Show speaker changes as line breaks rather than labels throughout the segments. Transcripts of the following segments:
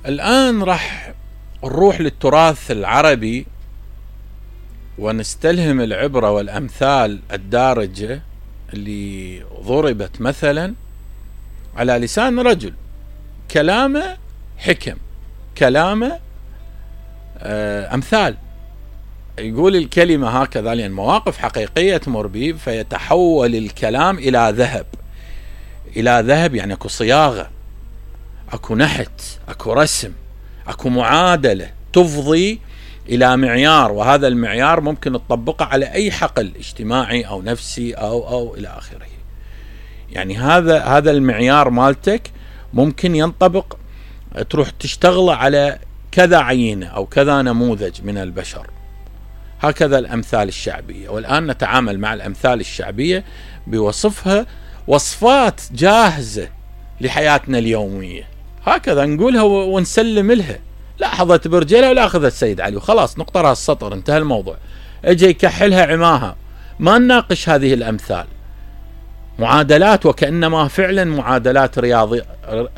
الآن راح نروح للتراث العربي ونستلهم العبرة والأمثال الدارجة اللي ضربت مثلا على لسان رجل، كلامه حكم، كلامه أمثال، يقول الكلمة هكذا لأن مواقف حقيقية تمر به، فيتحول الكلام إلى ذهب. إلى ذهب يعني أكو صياغة، أكو نحت، أكو رسم، أكو معادلة تفضي إلى معيار، وهذا المعيار ممكن تطبقه على أي حقل اجتماعي أو نفسي أو إلى آخره. يعني هذا المعيار مالتك ممكن ينطبق، تروح تشتغل على كذا عينة أو كذا نموذج من البشر. هكذا الأمثال الشعبية. والآن نتعامل مع الأمثال الشعبية بوصفها وصفات جاهزة لحياتنا اليومية، هكذا نقولها ونسلم لها. لا حظت برجلها ولا أخذت سيد علي وخلاص، نقطة راس السطر، انتهى الموضوع. اجي يكحلها عماها، ما نناقش هذه الأمثال، معادلات وكأنما فعلا معادلات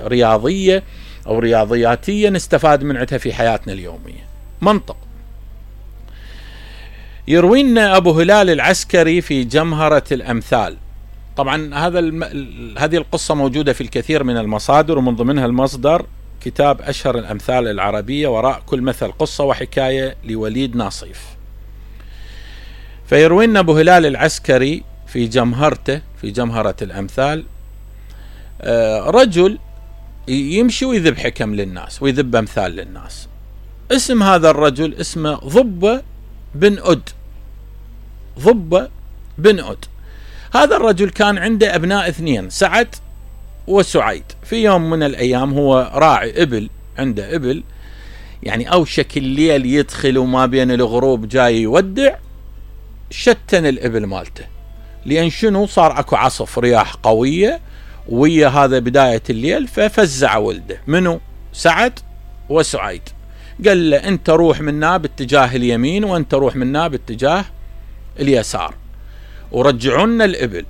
رياضية أو رياضياتية نستفاد من عندها في حياتنا اليومية. منطق. يروينا أبو هلال العسكري في جمهرة الأمثال. طبعا هذه القصة موجودة في الكثير من المصادر، ومن ضمنها المصدر كتاب أشهر الأمثال العربية، وراء كل مثل قصة وحكاية لوليد ناصيف. فيروينا أبو هلال العسكري في جمهرته، في جمهرة الأمثال، رجل يمشي ويذب حكم للناس ويذب أمثال للناس. اسم هذا الرجل اسمه ضبة بن أد. ضبة بن أد. هذا الرجل كان عنده أبناء اثنين، سعد وسعيد. في يوم من الأيام هو راعي إبل، عنده إبل، يعني أوشك الليل يدخل وما بين الغروب جاي يودع، شتن الإبل مالته، لأن شنو صار أكو عصف رياح قوية ويا هذا بداية الليل، ففزع ولده منو؟ سعد وسعيد. قال له أنت روح منا باتجاه اليمين وأنت روح منا باتجاه اليسار ورجعونا الإبل.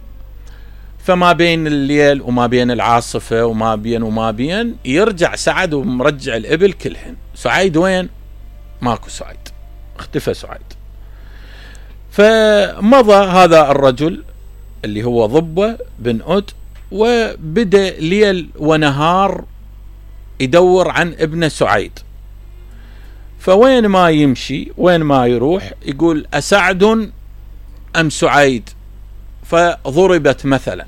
فما بين الليل وما بين العاصفة وما بين يرجع سعد ومرجع الإبل كلهن. سعيد وين؟ ماكو سعيد، اختفى سعيد. فمضى هذا الرجل اللي هو ضبة بن أد، وبدأ ليل ونهار يدور عن ابن سعيد. فوين ما يمشي وين ما يروح يقول أسعد أم سعيد، فضربت مثلا.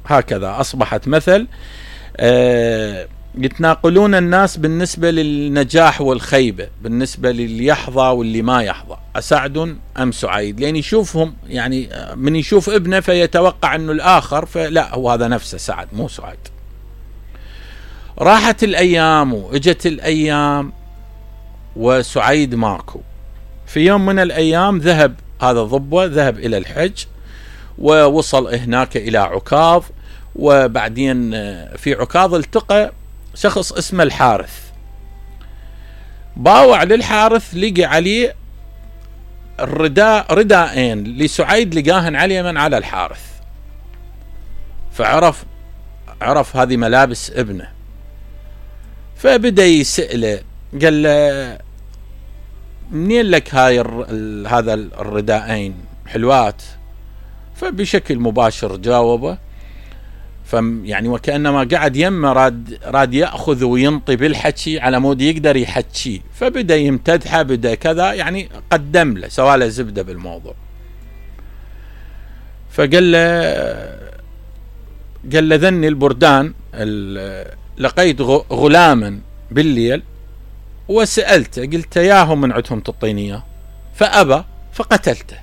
هكذا أصبحت مثل يتناقلون الناس بالنسبة للنجاح والخيبة، بالنسبة للي يحظى واللي ما يحظى، أسعد أم سعيد، لأن يشوفهم يعني من يشوف ابنه فيتوقع أنه الآخر، فلا هو هذا نفسه سعد مو سعيد. راحت الأيام وإجت الأيام وسعيد ماكو. في يوم من الأيام ذهب هذا الضبة، ذهب إلى الحج ووصل هناك إلى عكاظ، وبعدين في عكاظ التقى شخص اسمه الحارث. باوع للحارث، لقى عليه رداءين لسعيد لقاهن عليه من على الحارث، فعرف هذه ملابس ابنه. فبدأ يسأله، قال له منين لك هذا الرداءين حلوات؟ فبشكل مباشر جاوبه، يعني وكأنما قاعد يمه راد يأخذ وينطي بالحكي على مود يقدر يحكي. فبدأ يمتدحه، بدأ كذا، يعني قدم له، سواله زبدة بالموضوع. فقال له ذني البردان، لقيت غلاما بالليل وسألته، قلت ياهم من عندهم تعطيني، فأبى فقتلته،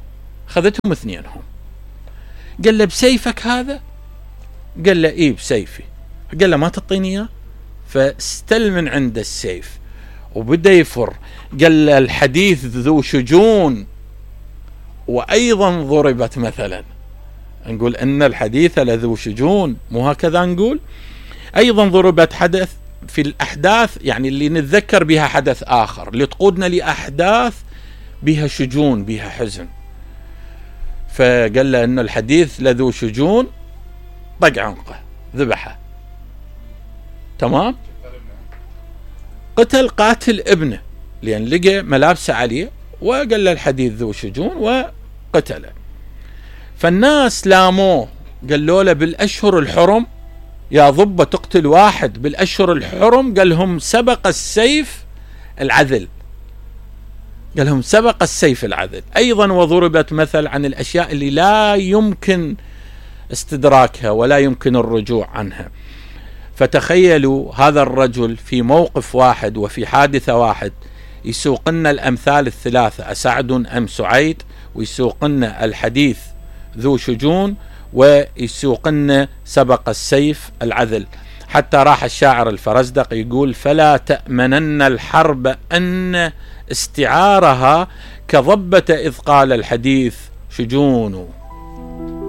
خذتهم اثنينهم. قال له بسيفك هذا؟ قال له إيه بسيفي. قال له ما تعطيني اياه؟ فاستل من عنده السيف وبدأ يفر. قال له الحديث ذو شجون وأيضا ضربت مثلا. نقول أن الحديث لذو شجون، مو هكذا نقول؟ أيضا ضربت حدث في الأحداث، يعني اللي نتذكر بها حدث آخر، اللي تقودنا لأحداث بها شجون بها حزن. فقال له أن الحديث لذو شجون، طق عنقه ذبحه. تمام؟ قتل قاتل ابنه لأن لقى ملابسه عليه وقال له الحديث ذو شجون وقتله. فالناس لاموه، قالوا له بالأشهر الحرم يا ضبة تقتل واحد بالأشهر الحرم؟ قال لهم سبق السيف العدل، قال لهم سبق السيف العدل. أيضا وضربت مثل عن الأشياء اللي لا يمكن استدراكها ولا يمكن الرجوع عنها. فتخيلوا هذا الرجل في موقف واحد وفي حادثة واحد يسوق لنا الأمثال الثلاثة، أسعد أم سعيد، ويسوق لنا الحديث ذو شجون، ويسوق لنا سبق السيف العدل. حتى راح الشاعر الفرزدق يقول: فلا تأمنن الحرب أن استعارها كضبة إذ قال الحديث شجون.